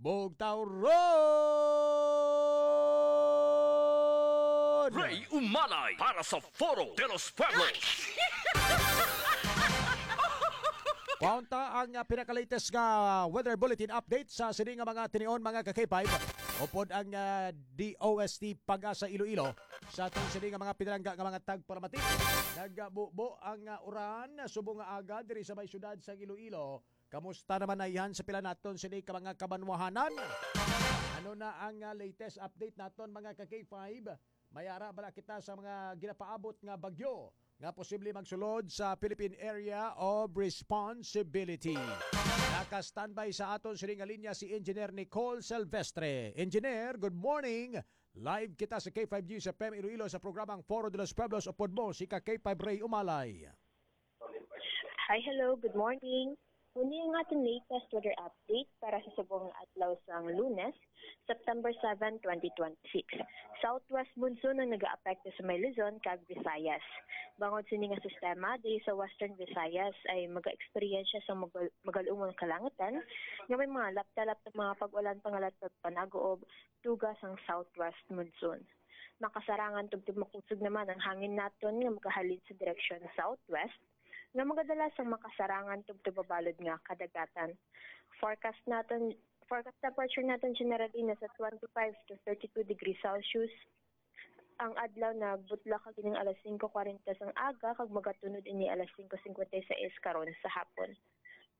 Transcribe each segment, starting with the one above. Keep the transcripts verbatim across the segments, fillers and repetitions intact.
Bugtaw Road! Ray Umalay para sa Foro de los Pueblos. Kwaon ta ang, ah, pinaka-latest nga weather bulletin update sa sini nga mga tinion, mga ka-K five. Upod ang, ah, D O S T Pag-asa Iloilo. Sa atong sini nga mga pinalangga nga mga tagpalamati, nagabubo ang, ah, uran subong nga aga diri sa may siyudad sang Iloilo. Kamusta naman na yan sa pila naton sini ka mga kabanwahanan? Ano na ang, ah, latest update naton, mga ka-K five? May ara bala kita sa mga ginapaabot nga bagyo nga posible magsulod sa Philippine Area of Responsibility? Naka-standby sa aton sini nga linya si Engineer Nicole Silvestre. Engineer, good morning. Live kita sa K five News F M Iloilo sa programang Foro de los Pueblos. Upod mo si ka K five Ray Umalay. Hi, hello, good morning. Muni ang aton latest weather update para sa subong nga adlaw sang Lunes, September seven, twenty twenty-six. Southwest monsoon ang nagaapekto sa may Luzon kag Visayas. Bangod sini nga sistema, diri sa Western Visayas ay maga-eksperyensya sa magal- magal-umon kalangitan nga may mga lapta-lapta mga pag-ulan pangalat kag panaguob tuga sang southwest monsoon. Makasarangan tubtob makusog naman ang hangin naton nga magahalin sa direksyon southwest nga magadala sang makasarangan tubtob mabalod nga kadagatan. Forecast naton forecast temperature naton generally nasa twenty-five to thirty-two degrees Celsius. Ang adlaw nagbutla kag ining alas singko kwarenta sang aga kag magatunod ini alas singko singkwenta y seis karon sa hapon.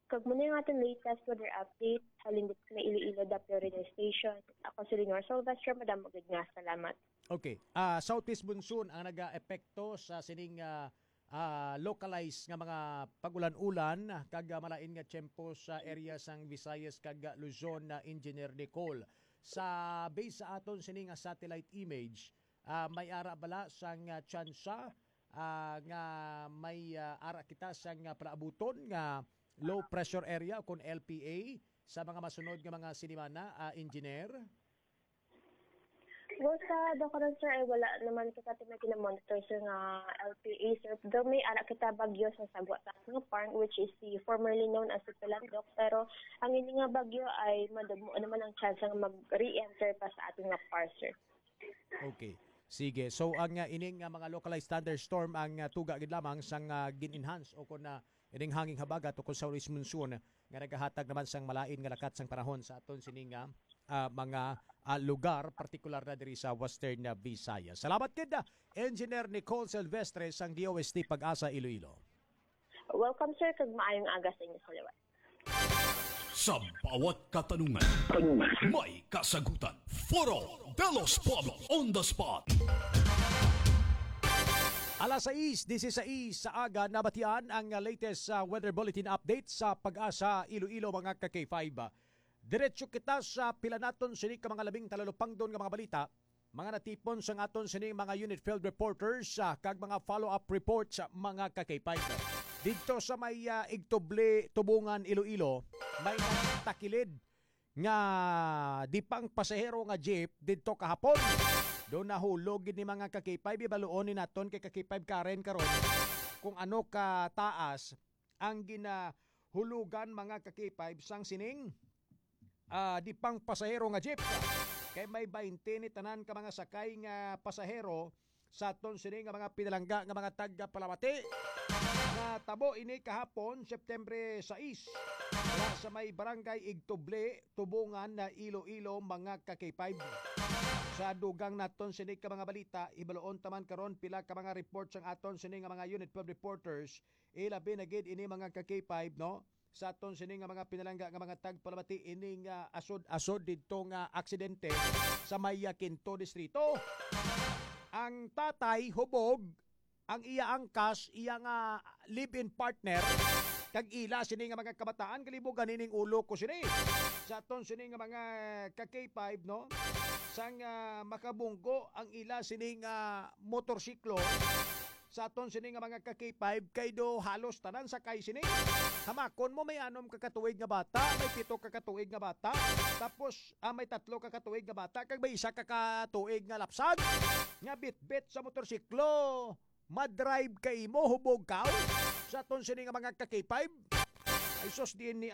Kag muna yung ating latest weather update halin dito sa Iloilo Doppler Radar Station. Ako si Lenore Silvestre. Madamo gid nga salamat. Okay. Ah, southeast monsoon ang nagaepekto sa sining, ah, ah, localized nga mga pag-ulan-ulan kag, ah, malain nga tiyempo sa area sang Visayas kag, ah, Luzon na Engineer Nicole. Sa base sa aton sini nga satellite image, ah, may ara bala sang, ah, tsansa, ah, nga may, ah, ara kita sang, ah, palaabuton nga low pressure area o kon L P A sa mga masunod nga mga sinimana, ah, Engineer? Well, sa Dacaran, sir, ay wala naman kita may ginamonitor, sir, nga L P A, sir. Daw may ara kita bagyo sa Sagwa Taas nga Park, which is the formerly known as the Pilandok. Pero ang ini nga bagyo ay madamo naman ang chance nga mag-re-enter pa sa ating nga par, sir. Okay. Sige. So ang, ah, ining, ah, mga localized thunderstorm ang, ah, tuga gid lamang sang, ah, gin-enhance o kon, ah, ining hanging habagat o kon southeast monsoon nga nagahatag naman sang malain nga lakat sang panahon sa aton sining, ah, ah, mga, ah, lugar, partikular na diri sa Western, ah, Visayas. Salamat gid, ah, Engineer Nicole Silvestre sang D O S T Pag-asa Iloilo. Welcome, sir, kag maayong aga sa inyo sa liwat. Sa bawat katanungan, may kasagutan. Foro de los Pueblos on the spot. Alas sais dieciséis sa aga, nabatian ang latest, ah, weather bulletin update sa Pag-asa Iloilo, mga ka K five. Diretso kita sa pila naton sini ka mga labing talalupangdon nga mga balita, mga natipon sang aton sining mga unit field reporters, ah, kag mga follow-up reports, ah, mga ka K five. Didto sa may, ah, Igtubli, Tubungan, Iloilo, may nagtakilid nga di pang pasahero nga jeep didto kahapon. Do nahulog gid ni, mga ka K five, ibaluon ni naton kay ka K five Karen karon kung ano ka taas ang ginahulugan, mga ka K five, sang sining, ah, di pang pasahero nga jeep. Kay may baynte ni tanan ka mga sakay nga pasahero sa aton sini nga mga pinalangga nga mga taga-Palamati. Natabo ini kahapon, September sais, diha sa may barangay Igtubli, Tubungan na Iloilo, mga ka K five. Sa dugang naton sini ka mga balita, hibaluon ta man karon pila ka mga reports ang aton sini nga mga unit field reporters, ilabi na gid ini, mga ka K five, no? Sa aton sini nga mga pinalangga nga mga tagpalamati, ini nga asod-asod didto nga aksidente sa may, ah, Quinto Distrito. Ang tatay hubog, ang iya angkas, iya nga live-in partner, kag ila sini nga mga kabataan, kalibugan ining ulo ko sini. Sa aton sini nga mga ka K five, no? Sang, ah, makabunggo ang ila sini nga motorsiklo, sa aton sini nga mga ka K five, kay do halos tanan sakay sini. Hamakon mo, may anom ka katuig nga bata, may pito ka katuig nga bata, tapos, ah, may tatlo ka katuig nga bata, kag may isa ka katuig nga lapsag nga bitbit sa motorsiklo. Madrive ka imo, hubog ka. Sa aton sini nga mga ka K five, ay sus, diin ni